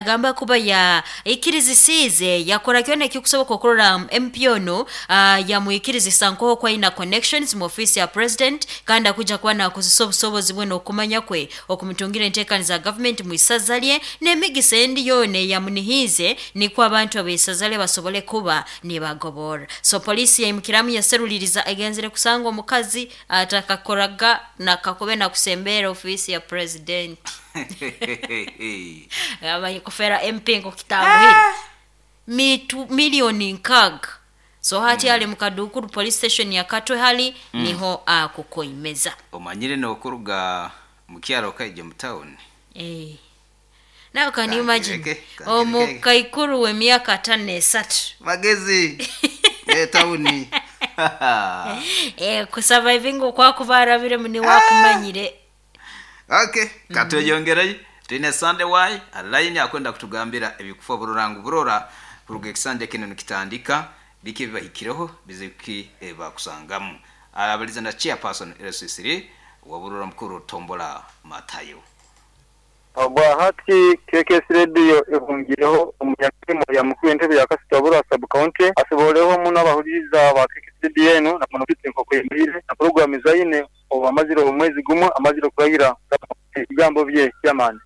Agamba kuba ya ikirizisize yakora kyona ekikusoboka okurora MP ono yamwikirizisa nkoho kwaina connections mu office ya president, kandi akuja kuba nakozesa obusobozi bwe n'okumanya kwe okumutungira enteekaniza za government mu isaza lye n'emigisa endi yoona eyamunihiize, nikwo abantu ab'eisaza lye basobole kuba nibagobora. So poliisi yaimukiramu yaseruliriza, egenzere kusanga omukazi atakakoraga nakakobe nakusembeera ofiisi ya president. Amanyi kufera MP nkokitanguhire mitu 6 million. So hati ali mukadukuru police station ya Katwe hali niho akukoimeza. Omanyire nokuruga mukyaro kaija mu town. Eh. Now can you imagine Kankireke, kankireke. Omukaikuru w'emyaka 53 Magezi etawuni. Eh, kusurviving okwakuba arabiremu niwakumanyire. Okay, katweyongereyo. Twine Sunday y aline akwenda kutugambira ebikufa bururangu burora kuruga ekisanja kino nikitandika, biki ebibahikireho, bizibu ki bakusangamu. Abaliza na chairperson LC3 wa Burora mukuru Tombola Matayo. Obwahati KKS Radio ehungireho omunyamirimo ya mukuru w'entebe ya Kasito Burora sub county asiboleho muno abahuliriza ba KKS Radio enu na muno nkoko yemirire na programu zaine obu amazire omwezi gumwe amazire kurahira ebigambo bye chairman.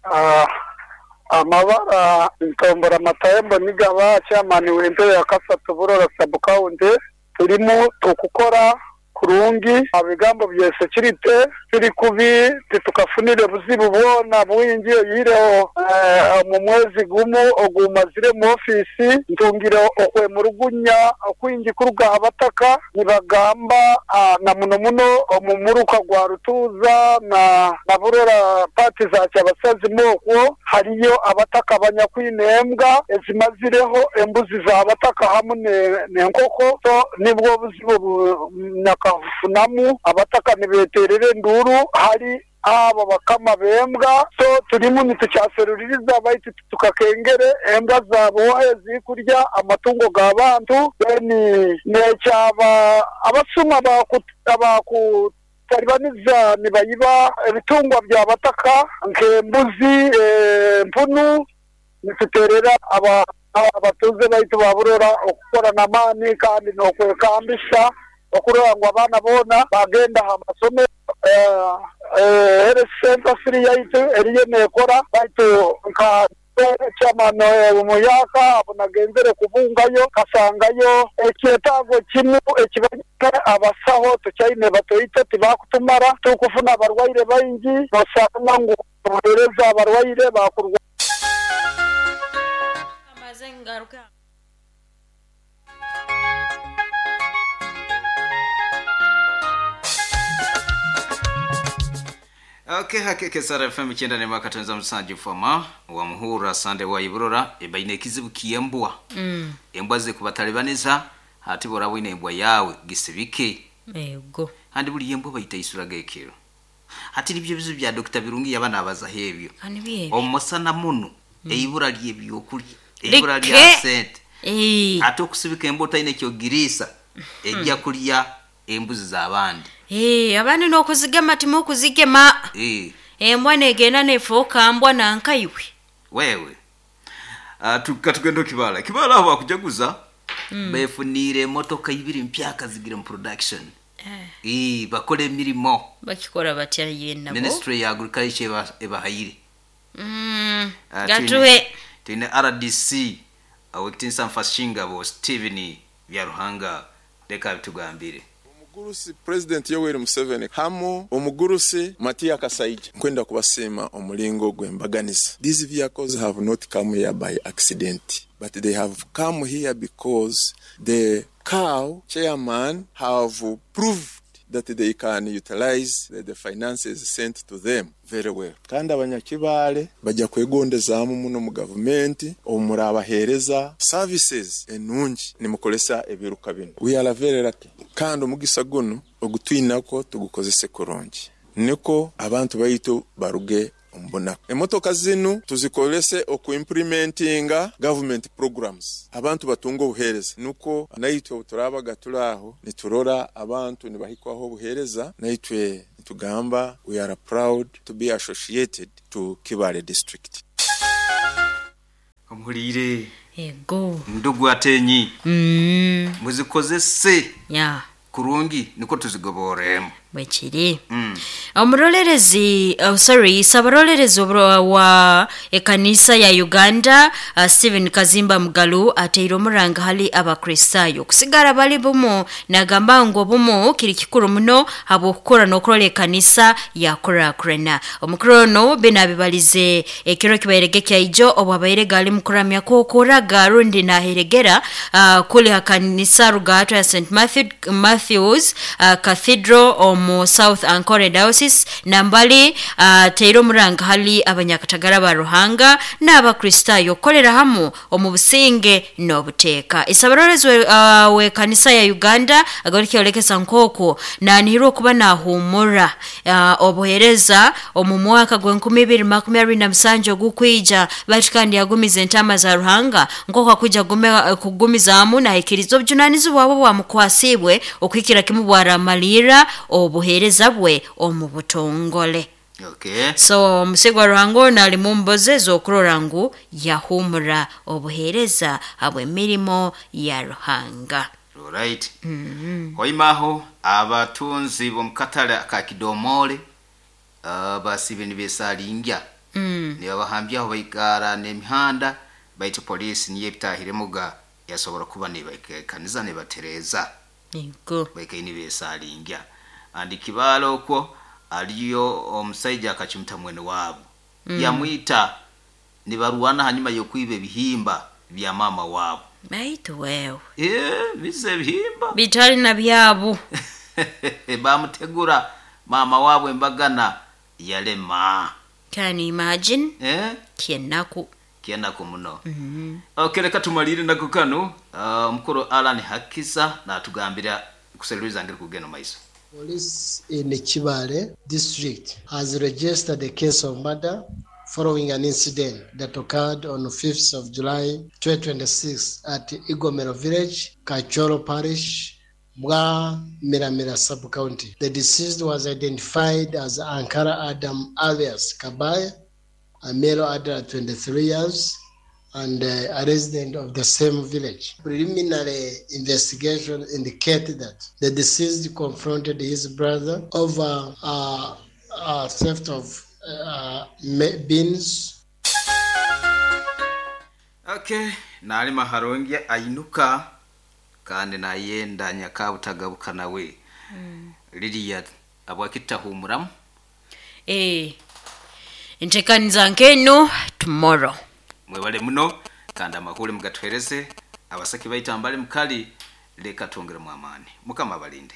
Amabara Ntombora Matayo Nigaba, chairman w'entebe ya Kasatu Burora sub county. Turimu tukukora kurungi ebigambo bya security turi kubi, titukafunire buzibu bwona bwingi oyireho omu mwezi gumu ogumazire mu ofisi ntungire okwemurugunya okwingi kuruga abataka nibagamba na muno muno omu muruka gwa Rutuuza na Burora pati za Kyabasazi mokwo hariyo abataka banyakwine embwa ezimazireho embuzi za bataka hamwe n'enkoko. So nibwo buzibu nyakafunamu abataka nibeterera enduru hari abo bakama bembwa. So turimu nitukyaseruririza baitu tukakengere embwa zabohe zikurya amatungo g'abantu. Then nekyaba abasuma abakutalibaniza nibayiba ebitungwa bya bataka nk'embuzi, empunu. Nituterera aba abatuze baitu baburora okukora n'amaani kandi n'okwekambisa okurora ngu abaana boona bagenda aha masomero. Health center siri yaitu eriyo nekora baitu nka chairman omuyaka abo nagenzere kubungayo kasangayo ekyetaago kimu ekibanyine abasaho tukyaine batoito, tibakutumara, tukufuna abarwaire baingi, nosanga ngu obuheereza abarwaire bakurwa. Amaze ngaruka. Okay, hakeke Sara FM 9.7 fama wa Muhura Sunday wa Iburora ebaine ekizibu kiembwa. Embwa ze kubatalibaniza hati bora bwine embwa yawe gisibike. Ego. Handi buli embwa bayita isuraga ekiro. Hati nibyo bizibu bya Dr. Birungi yabana abaza hebyo. Kandi byebyo. Omusana muno eibura lyebyokulya, eibura lya Like. sente. Eh. Ate okusibika embwa otalina ekyogiriisa ejja kulya embuzi z'abandi. Eh, abandi n'okuzigema timukuzigema. Embwa negenda nefuuka mbwa nankaiwe. Wewe katugenda kibala kibala aho bakujaguza befuniire emotoka ibiri mpyaka zigire mu production. Bakora emirimo. Bakikora batya ye nabo? Ministry ya agriculture ebahayire. Gatuwe. Twine RDC awekitinsa mfashingabo Steven Byaruhanga, reka bitugambire. Omugurusi President Yoweri Museveni hamu omugurusi Matia Kasaija, nkwenda kubasiima omulingo gw'embaganiza. These vehicles have not come here by accident, but they have come here because the cow chairman have proved that they can utilize the finances sent to them very well. Kandi abanyakibale bajya kwegondezaamu muno mu gavumenti omurabahereza services enungi nimukolesa ebiruka bino. We are very lucky, kandi omugisa guno ogutwinako tugukozese kurungi niko abantu baitu baruge omubunaku. Emotoka zinu tuzikolese okuimplementinga government programs, abantu batunga obuhereza, nuko naitwe obuturabaga turi aho niturora abantu nibahikwaho obuhereza, naitwe nitugamba we are proud to be associated to Kibale district. Muliire. Ego. Ndugu atenyi. Muzikozese Ya. kurungi, niko tuzigoboremu. Bwekiri. Omurolerezi, oh, sorry, sabarolerezi wa ekanisa ya Uganda, Stephen Kazimba Mugalu ateire omuranga hali Abakristaayo kusigara bali bumu, nagamba ngu obumu kiri kikuru muno habwokukora n'okurora ekanisa yakurakurana. Omukuru ono binabibalize ekiro kibairege kyaijo obwabaire gali mukuramya kwokuraga rundi naheregera kuli hakanisa rugato ya St Matthews Cathedral omu South Ankole Diocese, nambali teire omuranga hali abanyakatagara ba Ruhanga n'Abakristaayo okukolera hamu omu businge n'obuteeka. Isabarorezi we kanisa ya Uganda agarukyolekesa nk'okwo nanihirwa okuba nahumura obuhereza omu mwaka gw'2027 ogukwija, baitu kandi yagumiza entama za Ruhanga nk'oku akwija kugumizaamu nahikiriza obujunanizibwa bwe bwamukwasibwe okuhikira kimu bwaramalira obuhereza bwe omu butongole. Okay. So omusigwa Ruhanga ono ali mu mbozi ez'okurora ngu yahumura obuhereza habw'emirimo ya Ruhanga. Alright. Hoimaho abatunzi b'omukatale aka Kidomole, basibe nibesalingya, nibabahambyaho baikara n'emihanda, baitu polisi niyo ebitahiremuga yasobora kuba nibaikaniza nibatereza. Ego. Baikaire nibesalingya andi kibaala okwo aliyo omusaija akacumita mwene waabo, yamwita nibarwana hanyuma y'okwiba ebihimba bya mama waabo. Baitu wewe. Bize ebihimba bitali na byabo. Bamutegura mama waabwe embagana yalema. Can you imagine? Kyenaku. Kyenaku muno. Okay, reka tumalire nako kano. Omukuru Alan Hakiza natugambira kuseruliza ngeri kugenda maiso. Police in Kibale district has registered a case of murder following an incident that occurred on 5th of July 2026 at Igomero village, Kachoro parish, Bwa Miramira sub-county. The deceased was identified as Ankara Adam alias Kabaya, a male adult 23 years, and a resident of the same village. Preliminary investigation indicated that the deceased confronted his brother over theft of beans. Okay, nalima harongia ainuka kandi nayenda nyakabutagabuka nawe. Lidia abwakitahumuramu. Entekaniza nkeno tomorrow. Mwebale muno kandi amakuru mugatuhereze abasaki baitambale mukali, leka twongeremu amaani. Mukama abalinde.